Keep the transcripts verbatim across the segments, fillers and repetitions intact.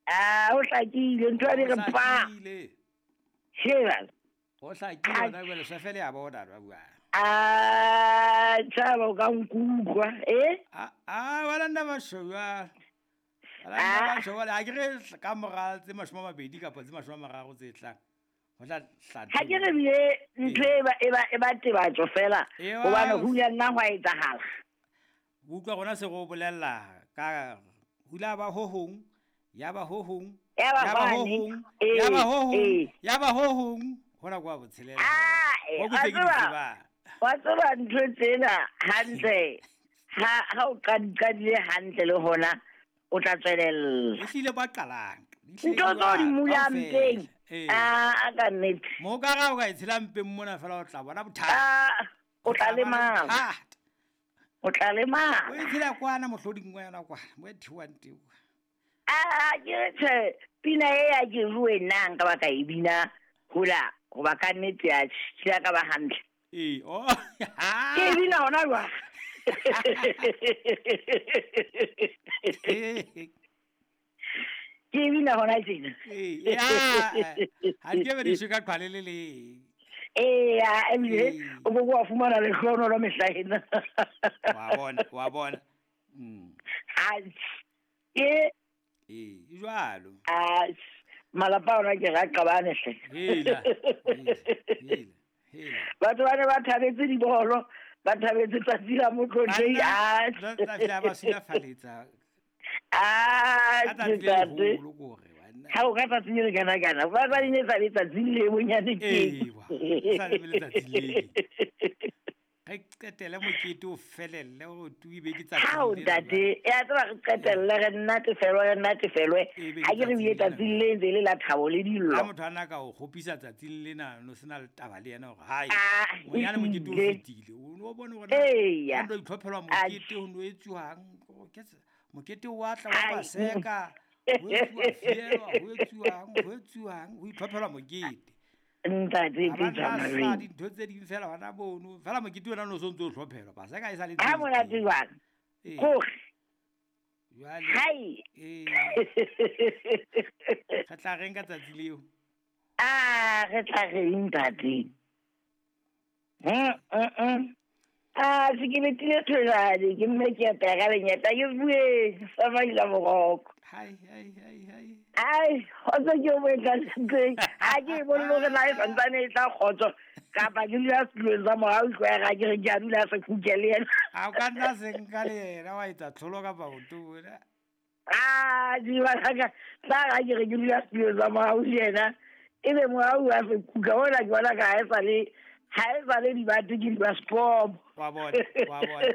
A o hlakile ntho ya di re pa. Sheba. O hlakile ona jwale sefele ya bona ba bua. A tshaba o ka nkutlwa eh? A a wala nna ba shwa. Wala nna ba shwa a ke re ka mora tse mashome a mabedi kapa tse mashome a mararo tse tlang. Ho tla hlatla. Ha ke re bile ntho e ba e ba e ba tebatso fela hobane ho ya nna hwa etsahala. Utlwa rona se go bolella ka hula ba ho hong ya ba ho hong ya ba ho hong ya ba ho hong ya ba ho hong hona kwa botshelela. Ah, wa tseba ntho tsena hantle ha ha o qadile hantle le hona o tla tswelella. E hlile ba qalang. Ntho tso di mula mpeng. Ah, ka nnete. Mo ka ra o ka itshela mpeng mona fela o tla bona bothata. Ah, o tla lemala. O tla lemala. O itshela kwana mohloding wa yona kwana, mo e thiwang teng. Ah, ke tse pina e ya ke rue nna nka ba ka e bina hola hoba ka nnete ya tshila ka ba hantle. Eh, oh. Ke bina hona jwa. Ke bina hona tjena. Eh, ya. Ha ke be di suka qhale le le. Eh, ya, ebile o go go fumana le hlono lo mehla ena. Wa bona, wa bona. Mm. Ha. Ke eh, jwalo. Ah, malapa ona ke ra qabane hle. Hela. Hela. Hela. Batho ba ne ba thabetse dibolo, ba thabetse tsatsi la motlotlehi. Ah, tla ba silafaletsa. Ah, tsatsi. Ha o ka tsatsi le kana kana. Ba ba ne tsa letsatsi le bonyane ke. Eh, sa le letsatsi le. Re qetelle mokete o felelle o tuibe ke tsatsi. Ha o ntate, ya tseba re qetelle re nnatefelwe re nnatefelwe. Ha ke re bile tsatsi le ntse le la thabo le dillo. Ha motho ana ka o kgopisa tsatsi lena no sena le taba le yena hore hai. Monyane mokete o fetile. O no bone hore na o itlhophelwa mokete o no etsuwang. Ke mokete wa tla wa paseka. Ho etsuwa fielwa, ho etsuwang, ho etsuwang, ho itlhophelwa mokete. Ntate ke tsamaya dintho tse ding fela hona bono fela mokete ona no sontso o hlophelwa paseka e sa le ha monate jwang gore jwale hai eh re tla reng ka tsatsi leo ah re tla reng ntate mm mm ah se ke betile tholane ke mme ke apera lenyata ke bue sa maila moroko hai hai hai hai ai kgotso ke o etla teng ha ke bone hore na e santsane e tla kgotso kapa ke dula setulong sa morao tlwaega ke re ke a dula se kuke le yena a o ka nna se nka le yena wa etsa tlholo kapa botona ah dibalaka tla ga ke re ke dula setulong sa morao le yena ebe morao wa se kuka ona ke bona ka ha e sa le ha e sa le dibate ke di ba sport wa bona wa bona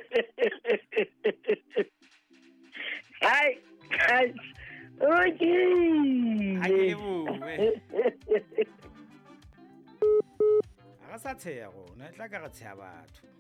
hai hai okay ha ke lebohe ha re sa tsheha rona e tla ka re tsheha batho.